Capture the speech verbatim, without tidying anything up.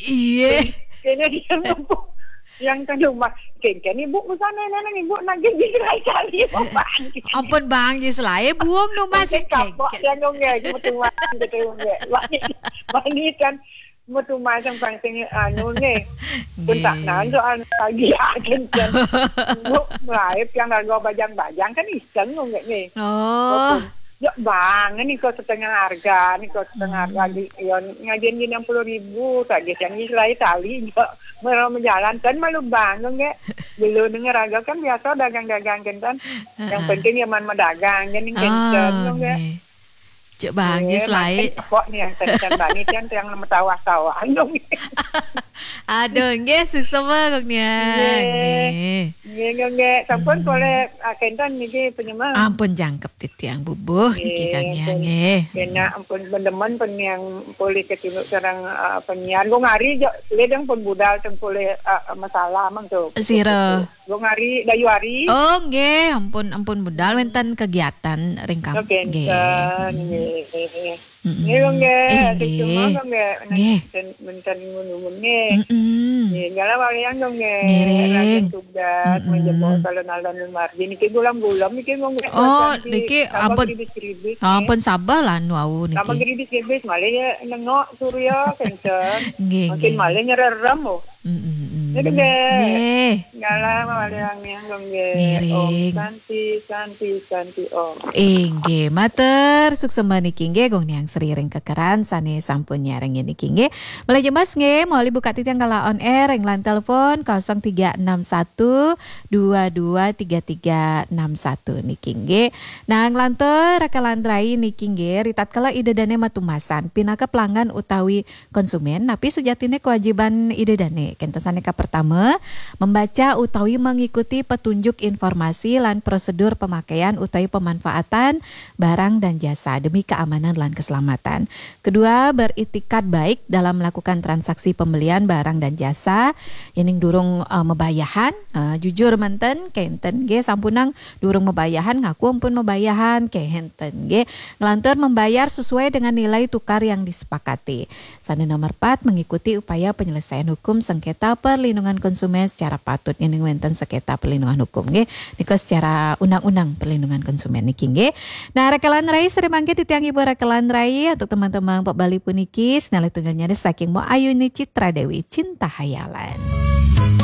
Iya. Kene dia ngepuk yang ke rumah. Kene ibu ke sana, nana ibu nagih di gerai kali. Ampun bang, di selai buang no masih kapok yang nongge, cuma tuh masih gitu nongge. Wani kan, mau tuh masang pangsing anu nge. Pun tak nando anu pagi agen kan. Ibu mulai yang harga bajang-bajang kan iseng nongge nge. Oh. Yuk bang, ini kok setengah harga, ini kok setengah harga di yon ngajian di enam puluh ribu, tak dia yang islai tali juga. Mau menjalankan malu bang nongge. Belum denger harga kan biasa dagang-dagang kan. Yang penting ya man mendagang, jadi kenceng nongge. Cek bang, yes lain. Kok nih yang kenceng banget kan yang nama tawa-tawa nongge. Aduh, nggih suksma kok nih. Nggih. Nggih, nggih, nggih. Sampun boleh ah, kenten niki penyemang. Ampun jangkep titiang bubuh niki Kang Yang nggih. Kena ampun benemen pen yang boleh ketuluk sareng uh, penyiar. Gung Ari jo ledeng pun budal teng boleh uh, masalah mang tuh. Sira. Gung Ari, Dayu Ari. Oh nggih, ampun ampun budal wenten kegiatan ring kampung. Nggih. Nggih, nggih. Nggih, nggih. Nggih. Menten ngono nggih. Nggih, jala walian dong nggih. Ngiring. Raden Tugas, menjebok salon-alon margi niki gulam-gulam niki nggih. Oh, niki ampun. Geribis-geribis. Ampun sabar lah nu awu niki. Sama geribis-geribis malah ya nengok surya kenceng. Nggih, nggih. Makin malah nyererem oh. Nggih. Nggih. Jala walian dong nggih. Ngiring. Om Santi, Santi, Santi Om. Inggih, matur suksma niki nggih Gung Niang Sri ring kekeran sane sampun nyarengin niki nggih. Malih jemas nggih, mawali buka titiang kala on air ring line telepon kosong tiga enam satu dua dua tiga tiga enam satu niki nggih. Nah, nglantur rakalan rai niki nggih, ritatkala Ida Dane matumasan pinaka pelanggan utawi konsumen, napi sujatine kewajiban Ida Dane? Kenten sane kapertama, membaca utawi mengikuti petunjuk informasi lan prosedur pemakaian utawi pemanfaatan barang dan jasa demi keamanan lan keselamatan. Kedua, beritikat baik dalam melakukan transaksi pembelian barang dan jasa. Yening durung uh, mebayahan, uh, jujur menten, kenten nggih sampunang durung mebayahan ngaku ampun mebayahan, kenten nggih. Nglantur membayar sesuai dengan nilai tukar yang disepakati. Sane nomor empat, mengikuti upaya penyelesaian hukum sengketa perlindungan konsumen secara patut. Yening wenten sengketa perlindungan hukum nggih. Nika secara undang-undang perlindungan konsumen niki nggih. Nah, rakalan rai sare mangke titiang ibu rakalan rai untuk teman-teman Pak Bali puniki, sinalih tunggalnya saking Mo Ayuni Citra Dewi Cinta Hayalan.